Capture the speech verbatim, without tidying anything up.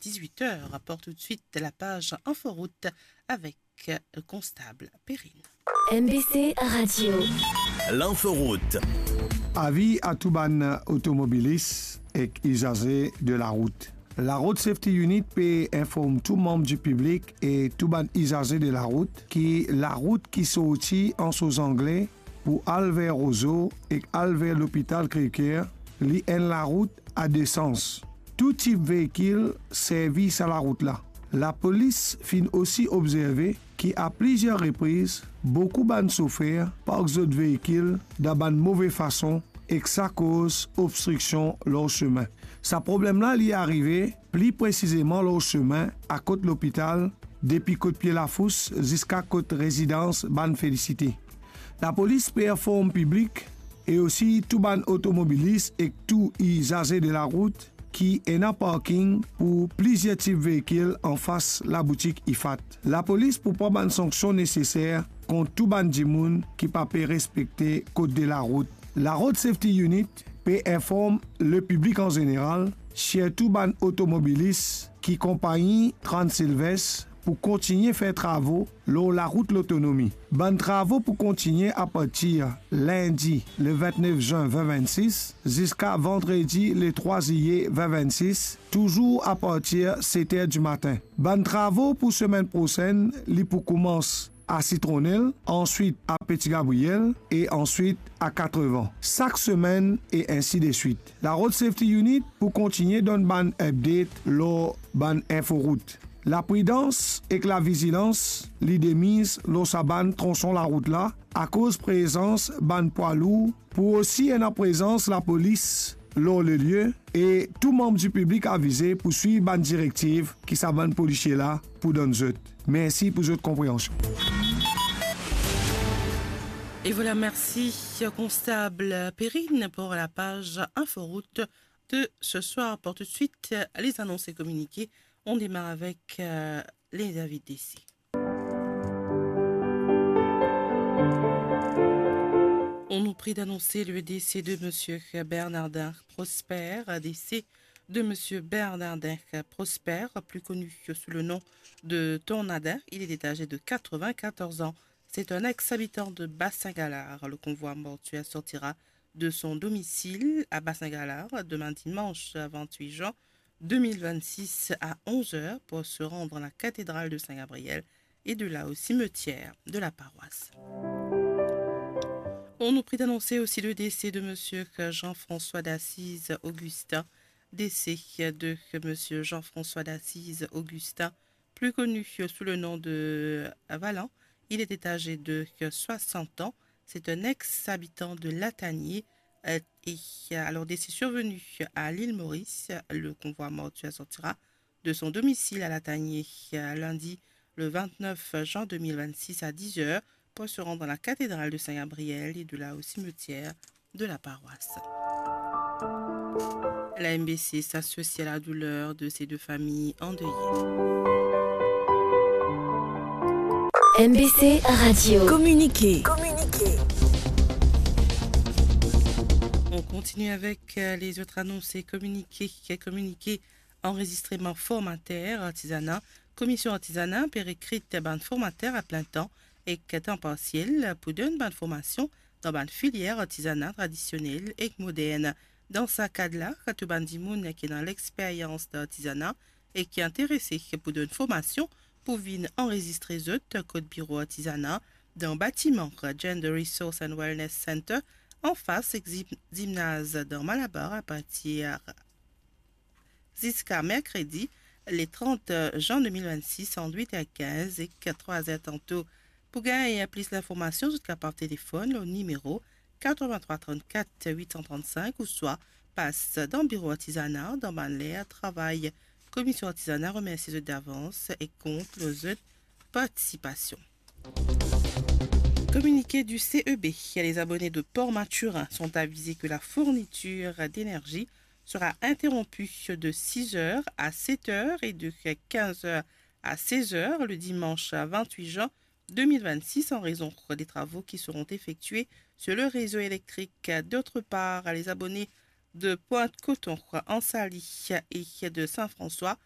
dix-huit heures. Pour tout de suite, la page Inforoute avec le constable Perrine. M B C Radio. L'inforoute. Avi a tou bann otomobilis ek izaze de larout. La Road Safety Unit pe inform tou manm di piblik e tou bann izaze de larout ki larout ki sorti Anse aux Anglais pou al ver Rozo ek al ver lopital Crèvecoeur, li enn larout a de sans. Tou tip veikil servi sa larout la. Lapolis finn osi obzerve ki a plizier repriz, boukou bann sofer park zot veikil dan bann move fason ek sa koz obstriksion lor semin. Sa problem la, li arive pli presizeman lor semin akot lopital, depi kot pie lafous ziska kot rezidans bann Felicite. Lapolis pe inform piblik e osi tou bann otomobilis ek tou izaze de larout ki ena parking pou plizier tip veikil anfas laboutik Ifat. Lapolis pou pran bann sanksion neseser kont tou bann dimoun ki pa pe respekte kod de larout. La Road Safety Unit pe inform lepiblik an zeneral, sirtou bann otomobilis, ki konpagni Transilvès pou kontigne fer travo lor larout Lotonomi. Bann travo pou kontigne apartir lindi le vintnef zin vin vintsis ziska vandredi le trwa zilie vin vintsis, touzour apartir set er dimatin. Bann travo pou semenn prosenn, li pou koumans a Sitronel, answit a Peti Gabriel e answit a Katrevan. Sak semenn e ensi de swit. La Road Safety Unit pou kontigne donn bann update lor bann inforout. Lapridans ek lavizilans, li demiz lor sa bann tronson larout la, akoz prezans bann pwa lour, pou osi ena prezans lapolis lor lelie, e tou manm dipiblik avize pou swiv bann direktiv ki sa bann polisie la pou donn zot. Mersi pou zot konpreansion. Et voilà, merci, Constable Perrine, pour la page Inforoute de ce soir. Pour tout de suite, les annonces et communiqués. On démarre avec, euh, les avis de décès. On nous prie d'annoncer le décès de monsieur Bernardin Prosper, décès de monsieur Bernardin Prosper, plus connu sous le nom de Tornadin. Il était âgé de quatre-vingt-quatorze ans. C'est un ex-habitant de Bassin Galard. Le convoi mortuaire sortira de son domicile à Bassin Galard demain dimanche vingt-huit juin deux mille vingt-six à onze heures pour se rendre à la cathédrale de Saint-Gabriel et de là au cimetière de la paroisse. On nous prie d'annoncer aussi le décès de monsieur Jean-François d'Assise Augustin. Décès de monsieur Jean-François d'Assise Augustin, plus connu sous le nom de Valan. Il était âgé de soixante ans. C'est un ex-habitant de Latanier. Euh, et, euh, alors, décès survenu à l'île Maurice, le convoi mortuaire sortira de son domicile à Latanier, euh, lundi le vingt-neuf juin deux mille vingt-six à dix heures pour se rendre à la cathédrale de Saint-Gabriel et de là au cimetière de la paroisse. La M B C s'associe à la douleur de ces deux familles endeuillées. M B C Radio. Communiqué. On continue avec, euh, les autres annonces et communiqués. Communiqué anrezistreman formater artizana. Komision artizana pe rekrit bann formater a plin tan ek tan parsiel pou donn bann formasion dan bann filier artizana tradisionel ek modern. Dan sa kad la, tou bann dimoun ki ena lexperyans dan artizana e ki interese pou donn formasion pou vinn anrezistre zot kot biro artizana dan batiman Gender Resource and Wellness Center, anfas zim-, zimnaz dan Malabar, apartir ziska merkredi, le trant juin deux mille vingt-six, ant uit er kinz ek trwa er tanto. Pou gagn plis linformasion, zot kapav telefonn lor nimero quatre-vingt-trois trente-quatre huit cent trente-cinq ouswa pas dan biro artizana dan bann ler travay. Komision artizana remersi zot davans e kont lor zot partisipasion. Communiqué du C E B. Les abonnés de Port Mathurin sont avisés que la fourniture d'énergie sera interrompue de six heures à sept heures et de quinze heures à seize heures le dimanche vingt-huit juin deux mille vingt-six en raison des travaux qui seront effectués sur le réseau électrique. D'autre part, les abonnés de Pointe-Coton, Anse-Alix et de Saint-François